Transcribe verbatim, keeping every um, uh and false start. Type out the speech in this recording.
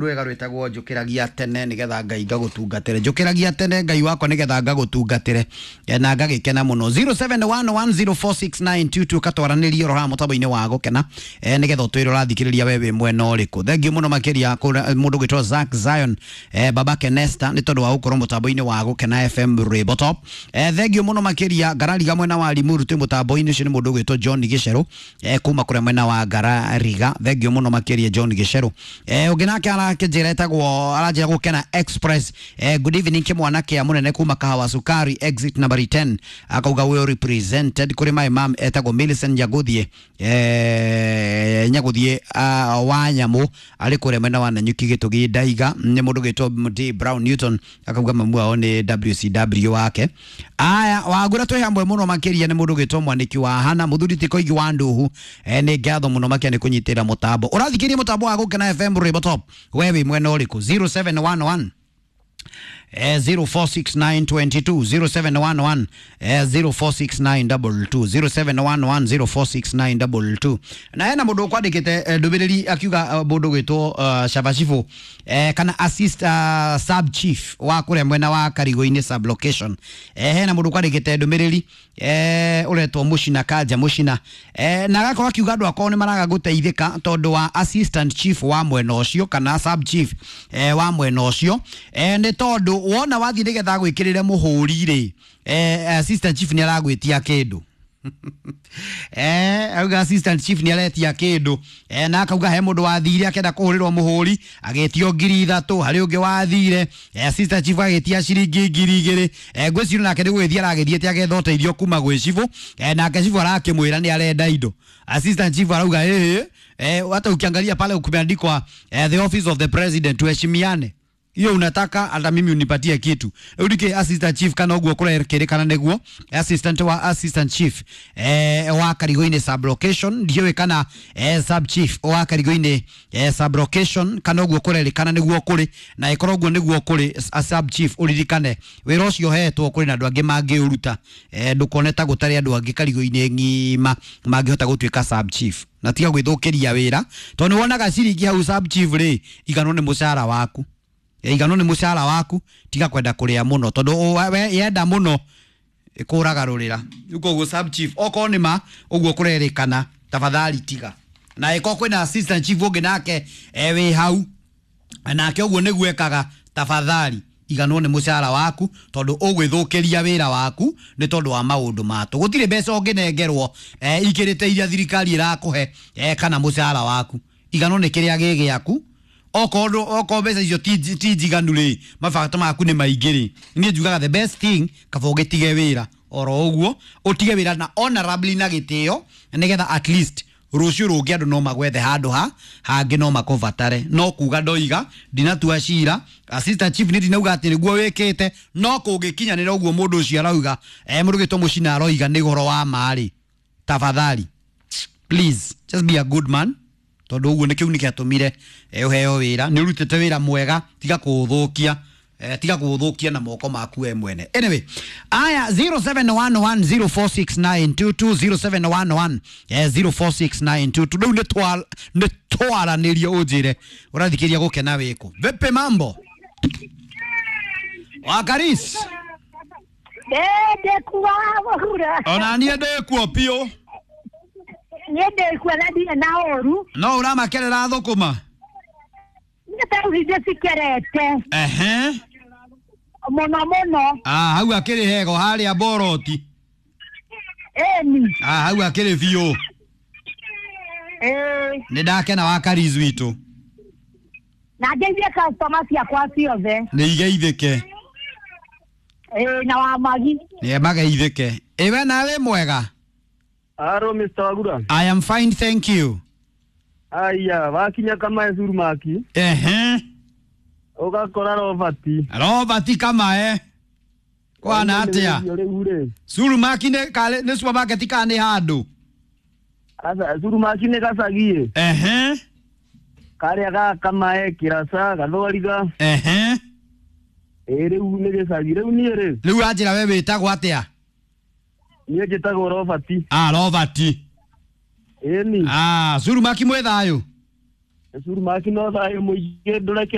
Rwega rwĩtagwo njũkĩragia tene nĩgetha Ngai ngagũtungatĩre. Njũkĩragia tene Ngai wakwa nĩgetha ngagũtungatĩre. Eh, na ngagĩkena mũno. zero seven one one zero four six nine two two katwaranĩrie oro haha mũtambo-inĩ wa gũkena, eh, nĩgetha ũtwĩre ũrathikĩrĩria we wĩ mwena ũrĩkũ. Thengiũ mũno makĩria kũrĩ mũndũ gwĩtwo Zack Zion, eh, baba Kenesta, nĩ tondũ wa gũkorwo mũtambo-inĩ wa Gũkena F M Rwĩmbo Top. eh, thengiũ mũno makĩria Ngarariga mwena wa Limuru twĩ mũtambo-inĩ ũcio nĩ mũndũ gwĩtwo John Gĩcerũ, eh, kuma kũrĩa mwena wa Ngarariga. Thengiũ mũno makĩria John Gĩcerũ. eh, ũngĩ nake arakĩnjĩra etagwo aranjĩra Gũkena Express, eh, good evening kĩmwana kĩa mũnene kuma Kahawa Sukari exit number ten, akauga we represented kũrĩ my mom etagwo Millicent Nyaguthie, eh, Nyaguthie uh, wa nyamũ arĩ kũrĩa mwena wa Nanyuki Gĩtũgi Ndaiga. Nĩ mũndũ gwĩtwo D Brown Newton, akauga mamu wao nĩ W C W wake. Aya wagura twĩ hamwe mũno makĩria nĩ mũndũ gwĩtwo Mwanĩki wa Hana mũthuri ti Koigi wa Nduhu. eh, nĩ ngatho mũno makĩria nĩ kũnyitĩra mũtambo. Ũrathikĩria mũtambo wa Gũkena F M Rwĩmbo Top. We wĩ mwena ũrĩkũ? zero seven one one eh, zero four six nine two two, zero seven one one eh, zero four six nine two two, zero seven one one zero four six nine two two. Na hena mũndũ ũkwandĩkĩte eh, ndũmĩrĩri akiuga eh, mũndũ gwĩtwo uh, Shabashifu, eh, kana assist uh, sub chief wa kũrĩa mwena wa Karigo-inĩ sub location. eh, hena mũndũ ũkwandĩkĩte ndũmĩrĩri eh, ũretwo Mũcina Kanja Mũcina, eh, na agakorwo akiuga andũ akorwo nĩ maraga gũteithĩka tondũ wa assistant chief wa mwena ũcio kana sub chief eh, wa mwena ũcio, eh, nĩ tondũ wona wathiĩ nĩgetha gwĩkĩrĩre mũhũri rĩ, eh, assistant chief nĩ aragwĩtia kĩndũ. eh auga assistant chief nĩ aretia kĩndũ, eh, na akauga he mũndũ wathire akenda kũhũrĩrwo mũhũri agĩtio ngiri ithatũ. Harĩ ũngĩ wathire, eh, assistant chief agĩtia ciringi ngiri igĩrĩ. eh, ngwĩciria nake nĩ gũgĩthiĩ aragĩthiĩte agetha ũteithio kuma gwĩ cibũ, eh, nake cibũ arakĩmwĩra nĩ arenda indo. Assistant chief arauga ĩhĩ, eh, hata ukiangalia pale kumeandikwa eh, the office of the president, tuheshimiane, hiyo unataka hata mimi unipatie kitu. Rĩu ndikĩ assistant chief kana ũguo kũrekĩrĩkana nĩguo assistant wa assistant chief eh, wa Karigo-inĩ sub location, ndiũĩ kana eh, sub chief wa Karigo-inĩ eh, sub location kana ũguo kũrerĩkana nĩguo kũrĩ. Na ĩkorwo ũguo nĩguo kũrĩ, a sub chief ũririkane wĩra ũcio ũhetwo kũrĩ na andũ angĩ mangĩũruta. eh, ndũkone ta gũtarĩ andũ angĩ Karigo-inĩ ng'ima mangĩhota gũtuĩka sub chief, na tiga gwĩthũkĩria wĩra tondũ nĩ wonaga ciringi hau sub chief rĩ, iganwo nĩ mũcara waku. Igano nĩ mũcara waku. Tiga kwenda kũrĩa mũno tondũ ũ- we yenda mũno ĩkũragarũrĩra. Rĩu koguo sub chief, okorwo nĩ ma ũguo kũrerĩkana, tafadhali tiga. Na ĩkorwo kwĩna assistant chief ũngĩ nake e wĩ hau nake ũguo nĩguo ekaga, tafadhali iganwo nĩ mũcara waku tondũ ũgwĩthũkĩria wĩra waku nĩ tondũ wa maũndũ matũ. Gũtirĩ mbeca ũngĩnengerwo eh, ikĩrĩte iria thirikari ĩrakũhe, eh, kana mũcara waku. Iganwo nĩ kĩrĩa gĩ gĩaku. Okorwo okorwo mbeca icio ti ti njiganu rĩ, mabata maku nĩ maingĩ rĩ, niĩ njugaga the best thing kaba ũgĩtige wĩra oro ũguo, ũtige wĩra na honorably na gĩtĩo, nĩgetha at least rũciũ rũngĩ andũ no magwethe handũ ha hangĩ no makũbatare. No kuga ndoiga ndinatua cira assistant chief, nĩ ndinauga atĩ nĩguo wĩkĩte, no kũngĩkinyanĩra ũguo mũndũ ũcio arauga, eh, mũndũ gĩtwo Mũcina aroiga nĩ ũhoro wa ma rĩ, tafadhali please just be a good man tondũ ũguo nĩ kĩu nĩ gĩatũmire eh, ũheo wĩra. Nĩ ũrutĩte wĩra mwega, tiga kũũthũkia, eh, tiga kũũthũkia na moko maku we mwene. Anyway, aya zero seven one one zero four six nine two two, zero seven one one eh, zero four six nine two two. Rĩu nĩ twa- nĩ twaranĩrie ũnjĩre ũrathikĩria Gũkena wĩkũ. Vipi mambo Wakaris? Ndĩkuo mũhura. Ona niĩ ndĩkuo biũ. Niĩ ndĩkuo na ndirĩ na ũru. No ũramakerera thũkũma? Niĩ tarĩu ndĩcikerete Ehe. mũno mũno. Ah, hau akĩrĩ hego harĩa boroti. Ĩni. Ah, hau akĩrĩ biũ. Ĩĩ. Nĩ ndakena Wakaris witũ. Na ngeithie customer ciakwa ciothe. Nĩ igeithĩke. Ĩĩ, na wamagi. Nĩ mageithĩke. Ĩwe nawe mwega? Aro Mister Wagura. I am fine, thank you. Aya, wakinya Kamae Surumaki, Ehe. ũgakora Robert. Robert Kamae. Kwana atĩa? Rĩu rĩ. Surumaki nĩ kale nĩ supermarket kana nĩ handũ? Asa Surumaki nĩ gacagi. Ehe. Karĩa ga Kamae Kĩraca Gathwariga. Ehe. Ĩ rĩu nĩ gĩcagi. Rĩu niĩ rĩ, Rĩu anjĩra we wĩtagwo atĩa? Niĩ njĩtagwo Robert. Ah, Robert. Ĩni. Ah, Surumaki mwĩ thayũ? Curu maki no thayũ mũingĩ ndũreke.